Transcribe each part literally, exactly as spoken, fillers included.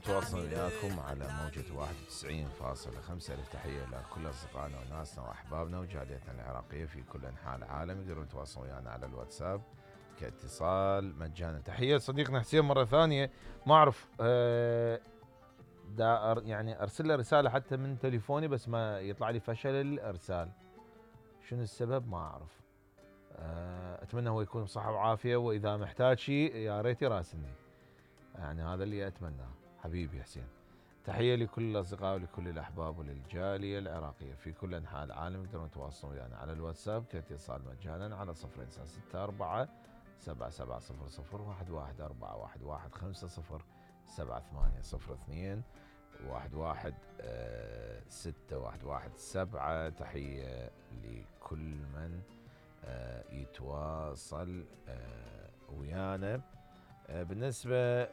نتواصل وياكم على موجة واحد وتسعين فاصلة خمسة. ألف تحية لكل أصدقائنا وناسنا وأحبابنا وجاليتنا العراقية في كل أنحاء العالم. يقدرون يتواصلون ويانا على الواتساب كاتصال مجانا. تحية صديقنا حسين مرة ثانية. ما أعرف أه دا أر يعني أرسل له رسالة حتى من تليفوني بس ما يطلع لي فشل الإرسال. شنو السبب ما أعرف. أه أتمنى هو يكون بصحة وعافية، وإذا محتاج شيء يا ريت يراسلني، يعني هذا اللي أتمناه. حبيبي حسين. تحية لكل الأصدقاء ولكل الأحباب وللجالية العراقية في كل أنحاء العالم. يقدرون يتواصلون ويانا على الواتساب كاتصال مجانا على صفر ستة أربعة سبعة سبعة صفر صفر واحد واحد أربعة واحد واحد خمسة صفر سبعة ثمانية صفر اثنين واحد واحد ستة واحد واحد سبعة. تحية لكل من يتواصل ويانا. بالنسبة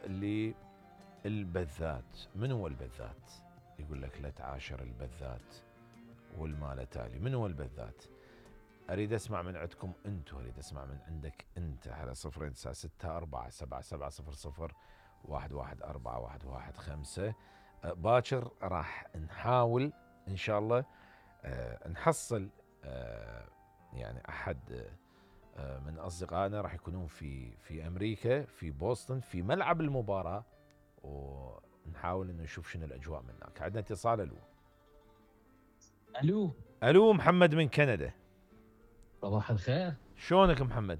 للبذات، من هو البذات؟ يقول لك لا تعاشر البذات والمال تالي. من هو البذات؟ أريد أسمع من عندكم أنتم، أريد أسمع من عندك أنت على صفر تسعة ستة أربعة سبعة سبعة صفر صفر واحد واحد أربعة واحد واحد خمسة. باكر راح نحاول إن شاء الله أه نحصل أه يعني أحد من أصدقائنا راح يكونون في في أمريكا في بوسطن في ملعب المباراة، ونحاول إنه نشوف شنو الأجواء من هناك. عندنا اتصال. ألو ألو ألو محمد من كندا. صباح الخير. شلونك محمد؟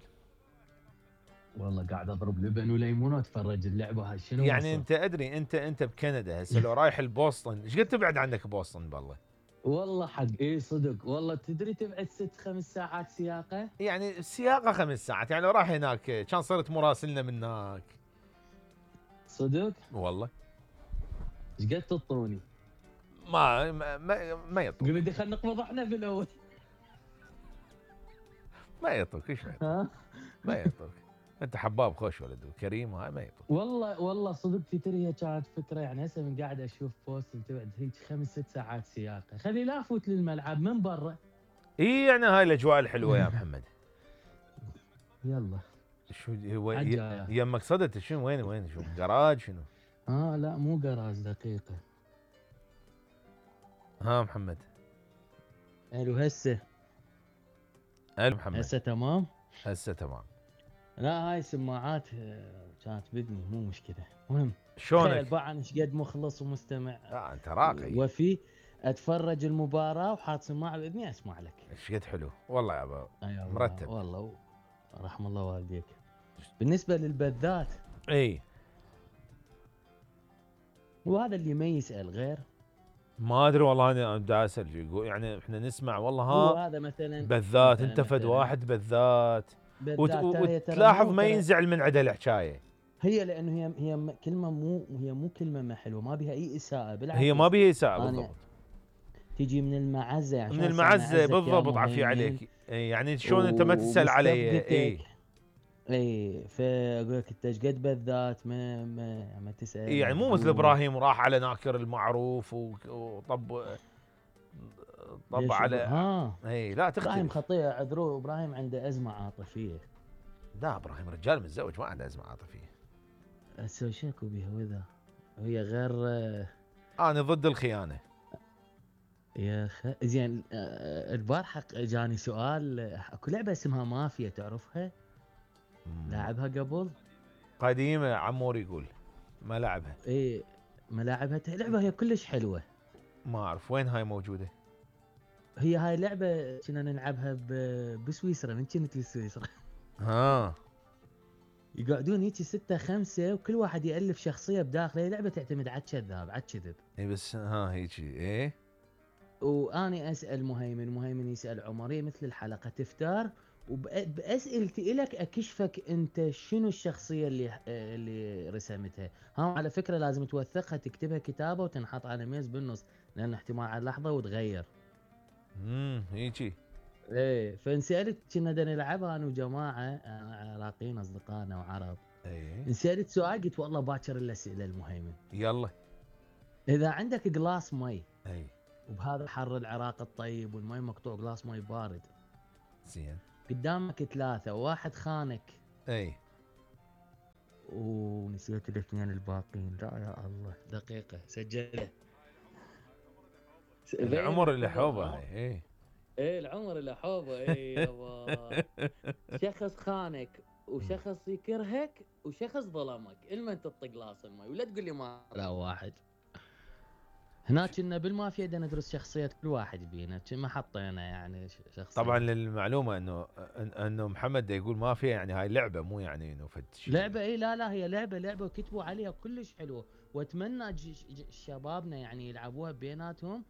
والله قاعد أضرب لبن وليمون وأتفرج اللعبة هاي. شنو يعني وصل؟ أنت أدري أنت أنت بكندا هسه لو رايح لبوسطن إيش قد تبعد عنك بوسطن بالله؟ والله حق إيه صدق والله. تدري تبعد ست خمس ساعات سياقة. يعني السياقة خمس ساعات، يعني لو راح هناك كان صرت مراسلنا من هناك. صدق؟ والله. إيش قد تطوني؟ ما ما ما, ما يطول. قل لي خلينا نقبض احنا في الأول. ما يطوك ايش ما يطوك. ما يطوك. انت حباب خوش ولد وكريم، هاي ما يطوك. والله والله صدق تدري هي كانت فكره. يعني هسه من قاعد اشوف بوست تبعد هيك خمس ست ساعات سياقه. خلي لا افوت للملعب من برا. اي يعني هاي الاجواء الحلوه يا محمد. يلا شو هو حجة يمك صدت؟ شنو وين وين شو جراج شنو؟ اه لا مو جراج دقيقه. ها محمد. الو هسه. الو محمد. هسه تمام. هسه تمام. لا هاي سماعات كانت بدني مو مشكله. المهم شلونك؟ تخيل بقى ايش قد مخلص ومستمع. لا انت راقي. وفي اتفرج المباراه وحاط سماعه باذني اسمع لك. ايش قد حلو والله يا ابا. أيوة مرتب والله. رحم الله والديك. بالنسبه للبذات اي وهذا اللي ما يسال غير. ما ادري والله. انا دا اسال يقول يعني احنا نسمع والله ها هو هذا مثلا بذات. مثلاً انت فد مثلاً واحد بذات بذات هي ترى وتلاحظ مو ما ترى ينزعل من عدل الحكايه. هي لانه هي هي كلمه مو هي مو كلمه ما حلوه، ما بها اي اساءه بالعكس. هي ما بها اساءه يعني بالضبط. تيجي من المعزه يعني من المعزه بالضبط. عافيه عليك. اي يعني شلون انت ما تسال علي. اي اي فاقول لك انت ايش قد بذات ما ما, ما تسال. إيه يعني مو مثل ابراهيم راح على ناكر المعروف وطب طب على ها. اي لا تختلف. ابراهيم خطير عذروه. ابراهيم عنده ازمه عاطفيه. لا ابراهيم رجال متزوج ما عنده ازمه عاطفيه. اسوي شكو بها وذا وهي غير. انا ضد الخيانه يا اخ زين. البارحه جاني سؤال. اكو لعبه اسمها مافيا تعرفها؟ لاعبها قبل؟ قديمه عمور يقول ما لعبها. ايه ما لعبها. لعبه هي كلش حلوه. ما اعرف وين هاي موجوده. هي هاي لعبه كنا نلعبها بسويسرا. من كنت بسويسرا. ها يقعدون هيك ستة خمسة وكل واحد يألف شخصية بداخله. هي لعبة تعتمد على الكذاب على الكذب. اي بس ها هيك ايه. واني اسأل مهيمن، مهيمن يسأل عمر. هي مثل الحلقة تفتار وبأسئلتي إلك أكشفك أنت شنو الشخصية اللي اللي رسمتها. ها على فكرة لازم توثقها تكتبها كتابة وتنحط على ميز بالنص، لأن احتمال على لحظة وتغير. امم هيجي. ايه فانسألت كنا بدنا نلعبها انا وجماعة عراقيين اصدقائنا وعرب. ايه انسألت سؤال قلت والله باكر الاسئلة المهيمن. يلا. اذا عندك جلاس مي اي وبهذا حر العراق الطيب والمي مقطوع جلاس مي بارد زين قدامك ثلاثة وواحد خانك. اي ونسيت الاثنين الباقين. لا يا الله، دقيقة سجلها. العمر اللي حوبه هاي. ايه ايه العمر اللي حوبه. ايه يابا. شخص خانك وشخص يكرهك وشخص ظلمك، المن تطق لاص المي ولا تقول لي ما لا واحد. هناك كنا بالمافيا بدنا ندرس شخصية كل واحد بينا، ما حطينا يعني شخصية. طبعا للمعلومة انه انه محمد دا يقول مافيا يعني هاي لعبة، مو يعني انه فتش لعبة. اي لا لا هي لعبة لعبة وكتبوا عليها كلش حلوة، واتمنى شبابنا يعني يلعبوها بيناتهم.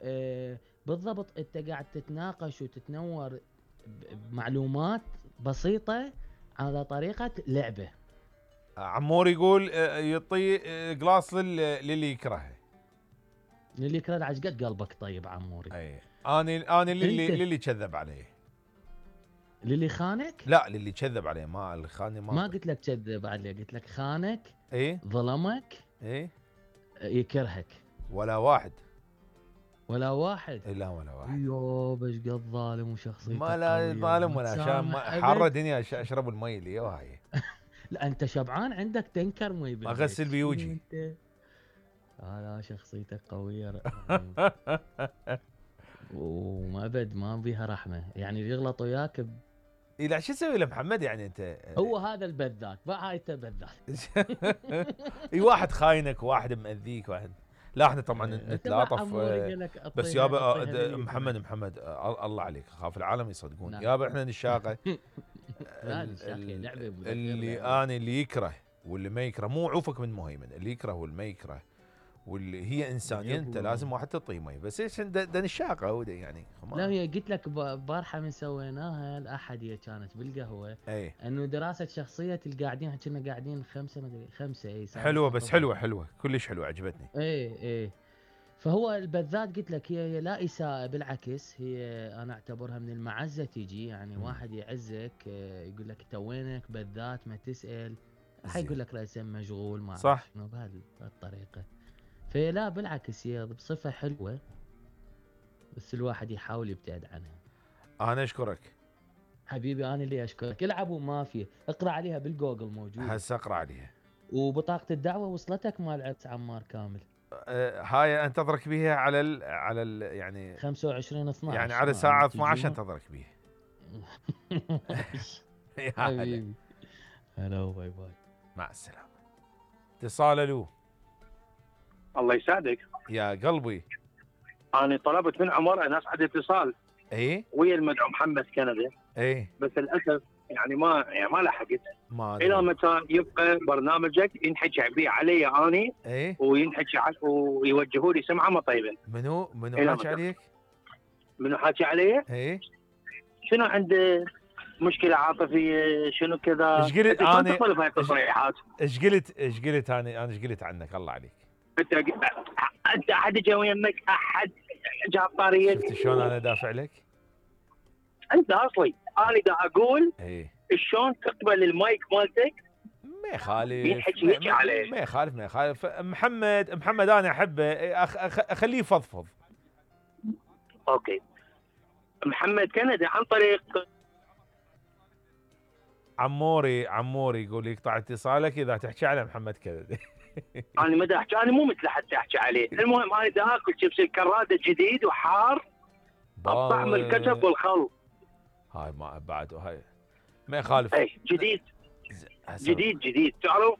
آه بالضبط، انت قاعد تتناقش وتتنور بمعلومات بسيطة على طريقة لعبة. عمور يقول يعطي قلاص للي يكرهه. للي يكره عجقت قلبك طيب عموري. اي انا انا للي للي كذب عليه. للي خانك؟ لا للي كذب عليه، ما اللي خاني ما ما قلت لك كذب عليه، قلت لك خانك. ايه ظلمك. ايه يكرهك. ولا واحد. ولا واحد. إيه لا ولا واحد. يوه بس قد ظالم وشخصيته ما لا ظالم ولا شام، حاره دنيا اشرب المي اللي وهاي. لا انت شبعان عندك تنكر مي بالبيت. اغسل بيوجي. لا لا شخصيتك قويه. وما ابد ما بيها رحمه، يعني يغلط وياك ب... إيه لا شو تسوي لمحمد يعني انت؟ هو هذا البذاك بقى، هاي انت بذاك. اي واحد خاينك وواحد مأذيك واحد. لا احنا طبعا نتلاطف بس يابا محمد محمد الله عليك، خاف العالم يصدقون يابا احنا نشاقه. اللي انا اللي يكره واللي ما يكره، مو عوفك من مهيمن، اللي يكره واللي ما يكره واللي هي انسانيه، انت لازم واحد تعطيه مي بس ايش ده نشاقه يعني. لا هي قلت لك بارحه من سويناها الاحديه كانت بالقهوه. اي انه دراسه شخصيه القاعدين، كنا قاعدين خمسه ما ادري خمسه. اي حلوه بس حلوه حلوه كلش حلوه عجبتني. اي اي فهو البذات قلت لك هي, هي لا اساءه، بالعكس هي انا اعتبرها من المعزه تيجي، يعني م. واحد يعزك يقول لك توينك بذات ما تسال، حيقول لك راسا مشغول ما صح شنو بهالطريقه. فهي لا بالعكس هي بصفه حلوه، بس الواحد يحاول يبتعد عنها. انا اشكرك حبيبي، انا اللي اشكرك. العبوا مافيا، اقرا عليها بالجوجل موجود. هسه اقرا عليها. وبطاقه الدعوه وصلتك مال عرس عمار كامل؟ أه هاي انتظرك بيها على ال على ال يعني خمسة وعشرين اثناشر يعني على الساعه اثني عشر انتظرك بيها. حبيبي هلا باي باي مع السلامه. اتصال الو. الله يسعدك يا قلبي. انا طلبت من عمر ان اسعد اتصال ايه ويا المدعو محمد كندا، ايه بس للاسف يعني ما يعني ما لحقت. ما الى متى يبقى برنامجك ينحكي بيه علي اني ايه وينحكي ويوجهوا لي سمعه ما طيبه؟ منو منو حكي عليك؟ منو حكي علي؟ ايه شنو عنده مشكله عاطفيه شنو كذا؟ ايش قلت انا؟ تطلب هاي التصريحات. ايش قلت ايش قلت انا انا ايش قلت عنك الله عليك؟ انت انت احد جا ويمك، احد جاب طاريك؟ شفت شلون انا دافع لك؟ انت اصلي انا دا اقول ايه شلون تقبل المايك مالتك؟ ما يخالف يحكي يحكي عليه. ما يخالف ما يخالف. محمد محمد انا احبه، أخ أخ اخليه يفضفض. اوكي محمد كندي عن طريق عموري عموري يقول يقطع اتصالك اذا تحكي على محمد كندي. انا ما احكي، انا مو مثل حتى احكي عليه. المهم انا دا اكل شيبس الكراده جديد وحار الطعم الكتب والخل. هاي ما بعد هاي ما يخالف. اي جديد جديد جديد. تعرف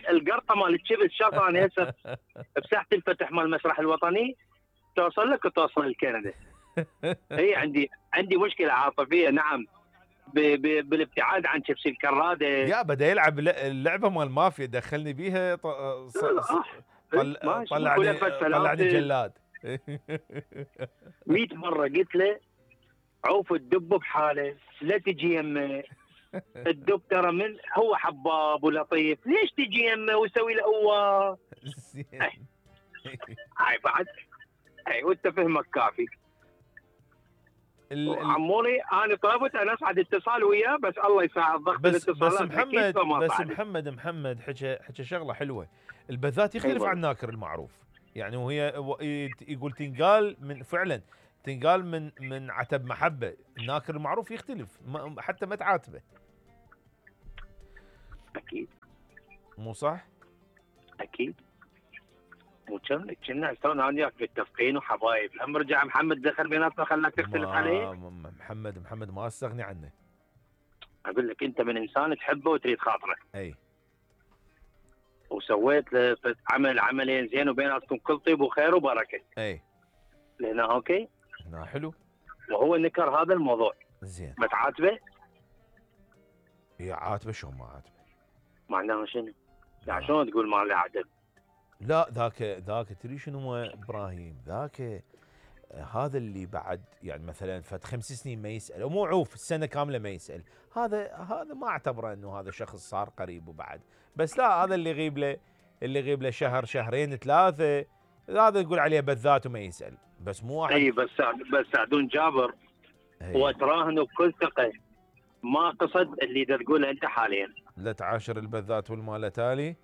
القرطه مال الشيبس شاف انا هسه بساحه الفتح مال المسرح الوطني توصل لك وتوصل لكندا. هي عندي عندي مشكله عاطفيه نعم بالابتعاد عن شيبس الكراده. يا بدا يلعب اللعبه مال مافيا دخلني بيها ط... طل... طلعني طلعني جلاد. مئة مره قلت له عوف الدب بحاله لا تجي يمه. الدب ترى من هو حباب ولطيف، ليش تجي يمه ويسوي له هو؟ هاي بعد اي وانت فهمك كافي. عموري انا طلبت انا اسعد اتصال وياه بس الله يساعد ضغط بس الاتصالات. بس محمد بس محمد محمد حكى حكى شغله حلوه. البذات يختلف عن الناكر المعروف، يعني وهي يقول تنقال من فعلا تنقال من من عتب محبه. الناكر المعروف يختلف حتى ما تعاتبه. اكيد مو صح؟ اكيد. وكم كنا تو انا وياك متفقين وحبايب، هم رجع محمد دخل بيناتنا خلاك تختلف عليه. محمد محمد ما استغني عنه. اقول لك انت من انسان تحبه وتريد خاطره. اي. وسويت له عمل عملين زين وبيناتكم كل طيب وخير وبركه. اي. لهنا اوكي؟ هنا حلو. وهو نكر هذا الموضوع. زين. ما تعاتبه؟ يا عاتبه شلون ما عاتبه؟ معناها شنو؟ لا شلون تقول ما له عدل؟ لا ذاك ذاك تدري شنو هو ابراهيم؟ ذاك هذا اللي بعد يعني مثلا فد خمس سنين ما يسال، ومو عوف السنه كامله ما يسال، هذا هذا ما اعتبره انه هذا شخص صار قريب وبعد، بس لا هذا اللي يغيب له اللي يغيب له شهر شهرين ثلاثه هذا يقول عليه بذات وما يسال، بس مو واحد. اي بس بس سعدون جابر واتراهن بكل ثقه ما قصد اللي تقوله انت حاليا. لا تعاشر البذات والمال تالي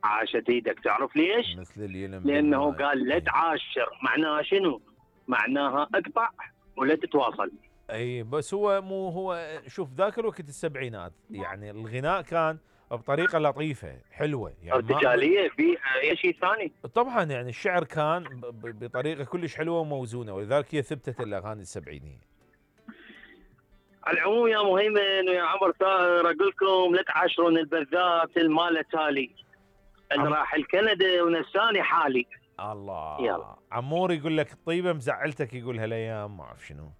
عاشت ايدك، تعرف ليش؟ مثل اليلم لانه بالمال. قال لا تعاشر، معناها شنو؟ معناها اقطع ولا تتواصل. اي بس هو مو هو شوف ذاك الوقت السبعينات يعني الغناء كان بطريقه لطيفه حلوه يعني ارتجاليه في اي شيء ثاني. طبعا يعني الشعر كان بطريقه كلش حلوه وموزونه ولذلك هي ثبتت الاغاني السبعينيه. على العموم يا مهيمن ويا عمر ثائر اقول لكم لا تعاشرون البذات المال تالي اللي راح الكندا ونساني حالي. الله يلا. عمور يقول لك الطيبه مزعلتك يقول هالايام ما اعرف شنو.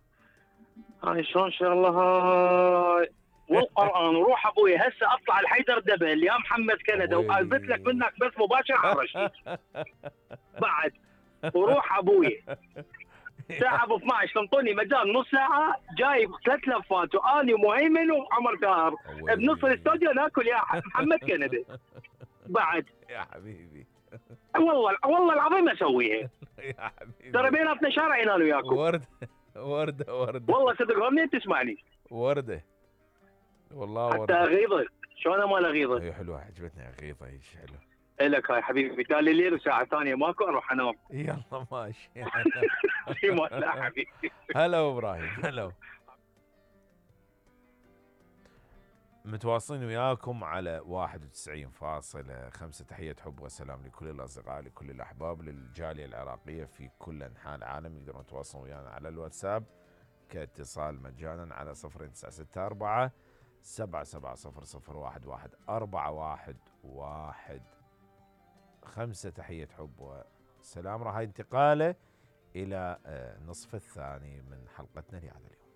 هاي شلون شغله هاي والقران وروح ابوي هسه اطلع الحيدر دبل يا محمد كندا واثبت لك منك بس مباشر على الرشيد بعد وروح ابوي ساعه ابو اثنعش تنطوني مجال نص ساعه جايب ثلاث لفات واني ومهيمن وعمر ثائر بنص الاستوديو ناكل يا محمد كندا بعد يا حبيبي والله والله العظيم اسويها يا حبيبي ترى بيناتنا شارع انا وياكم. ورده ورده ورده والله صدق منين تسمعني؟ ورده والله حتى ورده. اغيظه شلون ما اغيظه؟ هي حلوه عجبتني اغيظه ايش حلو. الك هاي حبيبي تالي الليل وساعه ثانيه ماكو اروح انام. يلا ماشي في ما حبيبي. هلا ابراهيم هلا. متواصلين وياكم على واحد وتسعين فاصلة خمسة. تحية حب وسلام لكل الأصدقاء لكل الأحباب للجالية العراقية في كل أنحاء العالم. يقدرون يتواصلون ويانا على الواتساب كاتصال مجانا على صفر تسعة ستة أربعة سبعة سبعة صفر صفر واحد واحد أربعة واحد واحد خمسة. تحية حب وسلام. راح انتقاله إلى نصف الثاني من حلقتنا لهذا اليوم.